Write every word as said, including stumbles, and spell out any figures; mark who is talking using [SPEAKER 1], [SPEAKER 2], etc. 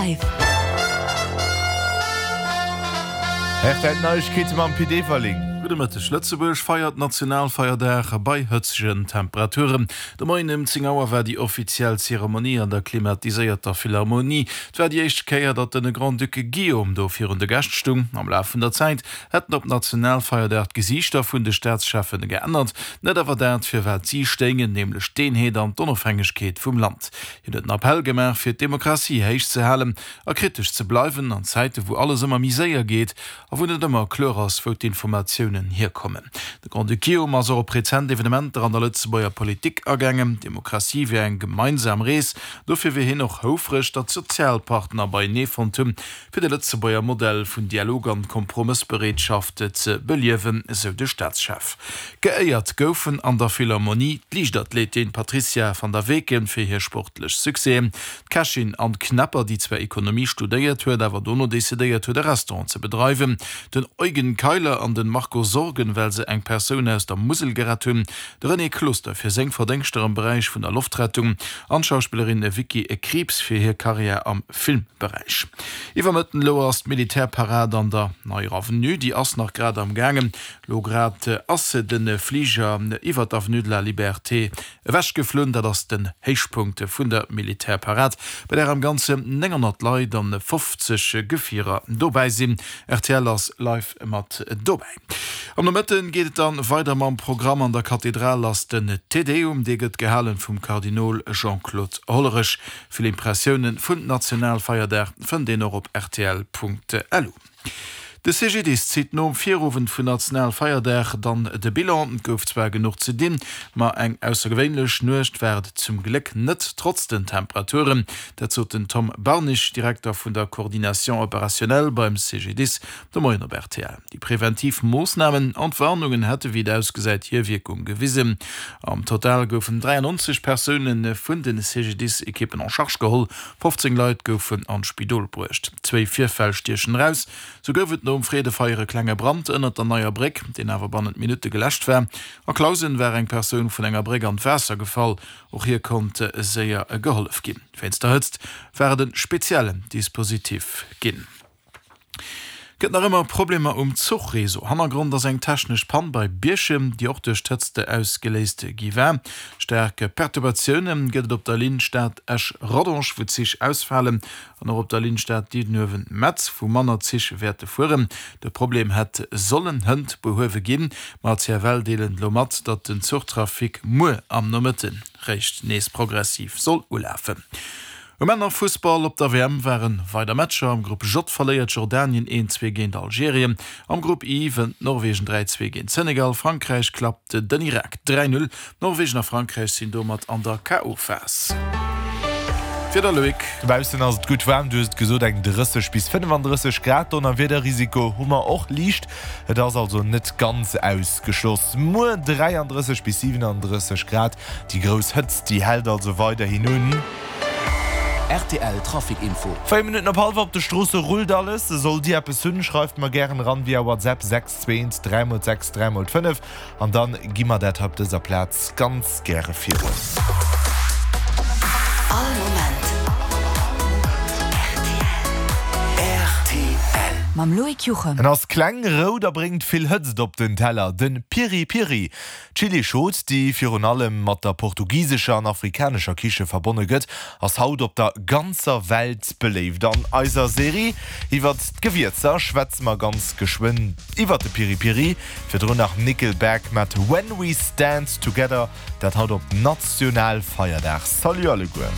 [SPEAKER 1] Live.
[SPEAKER 2] R T L Neiegkeete mam Pit Everling.
[SPEAKER 3] Gudde Mëtteg. Lëtzebuerg feiert Nationalfeierdag bei hëtzegen Temperaturen. De Moien ëm zéng Auer war déi offiziell Zeremonie an der klimatiséierter Philharmonie. Et war déi éischt Kéier, datt den Grand-Duc Guillaume do virun de Gäscht stung. Am Laf vun der Zäit hätten op Nationalfeierdag d'Gesiichter vun de Staatscheffen geännert, net awer dat, fir wat si stéingen, nämlech d'Eenheet an d'Onofhängegkeet vum Land. Hien huet en Appell gemaach, fir d'Demokratie héich ze halen a kritesch ze bleiwen an Zäite wou alles ëmmer méi séier geet a wou net ëmmer kloer ass, wou d'Informatiounen hierkommen. De Grand-Duc Guillaume ass och op rezent Evenementer an der Lëtzebuerger Politik agaangen. D'Demokratie wier eng gemeinsam Rees, dofir wier hien och houfreg, datt d'Sozialpartner beienee fonnt hunn, fir de Lëtzebuerger Modell vun Dialog an Kompromëssbereetschaft ze beliewen, esou de Staatschef. Geéiert goufen an der Philharmonie d'Liichtathletin Patrizia van der Weken fir hir sportlech Succèsen, d'Kächin Anne Knepper, déi zwar Ekonomie studéiert huet, awer dono decidéiert huet e Restaurant ze bedreiwen, den Eugen Keiler an den Marco Sorgen, well se eng Persoun aus der Musel gerett hunn, de René Closter fir seng Verdéngschter am Beräich vun der Loftrettung an d'Schauspillerin Vicky Krieps fir hir Karriär am Filmberäich. Iwwer Mëtten elo ass d'Militärparad an der Neier Avenue, déi ass nach grad am gaangen. Elo grad ass de Fliger iwwer d'Avenue de la Liberté ewech geflunn. Dat ass den Héichpunkt vun der Militärparad, bei där am Ganze nénghonnert Leit an fofzeg Gefierer dobäi sinn. R T L ass live mat dobäi. Am Nomëtten geet et dann weider mam Programm. An der Kathedral ass den Te Deum, dee gëtt gehalen vum Kardinol Jean-Claude Hollerich. Vill Impressiounen vun Nationalfeierdag fënnt een och op R T L Punkt L U. De C G D I S zitt nom Virowend vun Nationalfeierdag dann de Bilan. Et gouf zwar genuch ze dinn, ma eng aussergewéinlech Nuecht war et zum Gléck net, trotz den Temperaturen. Dat sot den Tom Barnig, Direkter vun der Coordination opérationnelle beim C G D I S, de Moien op R T L. Déi preventiv Moossnamen an d'Warnungen hätte wéi et ausgesäit hir Wierkung gewisen. Am Total goufen dräiannonzeg Persoune vun de C G D I S-Ekippen en charge geholl, fofzéng Leit goufen an d'Spidol bruecht. Zwéi Virfäll stiechen eraus. Sou gouf et nom Freedefeier e klenge Brand ënnert der Neier Bréck, deen awer bannent Minutte geläscht war. A Clausen war eng Persoun vun enger Bréck an d'Waasser gefall, och hir konnt séier gehollef ginn. Wéinst der Hëtzt war et e speziellen Dispositif ginn. Gëtt nach ëmmer Problemer um Zuchreseau. Hannergrond ass eng technesch Pann bei Bierchem, déi och duerch d'Hëtzt ausgeléist gi war. Staark Perturbatioune gëtt et op der Linn Stad-Esch-Rodange, wou Zich ausfalen, an och op der Linn Stad-Diddenuewen-Metz, wou manner Zich wäerte fueren. De Problem hätt sollen hënt behuewe ginn, ma d'C F L deelen elo mat, datt den Zuchtrafic muer am Nomëtte réischt nees progressiv soll ulafen. Um Männerfussball op der W M waren weider Matcher. Am Grupp J verléiert Jordanien een zwee géint Algerien. Am Grupp I wënnt Norwegen dräi zwee géint Senegal. Frankräich klappt den Irak dräi null. Norwegen a Frankräich sinn domat an der K O. Phas. Wieder, Loïc.
[SPEAKER 2] Dobaussen ass et gutt waarm, du hues et gesot, eng drësseg bis fënnefandrësseg Grad. Donnerwiederrisiko hu mer och liicht, et ass also net ganz ausgeschloss. Muer dräiandrësseg bis siwenandrësseg Grad, déi grouss Hëtzt, déi hält also weiderhin un.
[SPEAKER 4] R T L Trafic Info.
[SPEAKER 2] Véier Minutten op hallwer. Op de Stroosse rullt alles. Sollt Dir eppes hunn, schreift mer gären eran via WhatsApp sechs zwee eent dräi mol sechs dräi mol fënnef an dann gi mer dat hei op dëser Plaz ganz gäre virun.
[SPEAKER 1] All Moment R T L. Mam Loïc Juchem.
[SPEAKER 2] En ass kleng, rout a bréngt vill Hëtzt op den Teller, de Piri Piri. D'Chilischot, déi virun allem mat der portugisescher an afrikanescher Kiche verbonne gëtt, ass haut op der ganzer Welt beléift. An eiser Serie iwwert d'Gewierzer schwätze mer ganz geschwënn iwwert de Piri Piri. Virdrun nach Nickelback mat When We Stand Together, dat haut op Nationalfeierdag. Salut alleguer!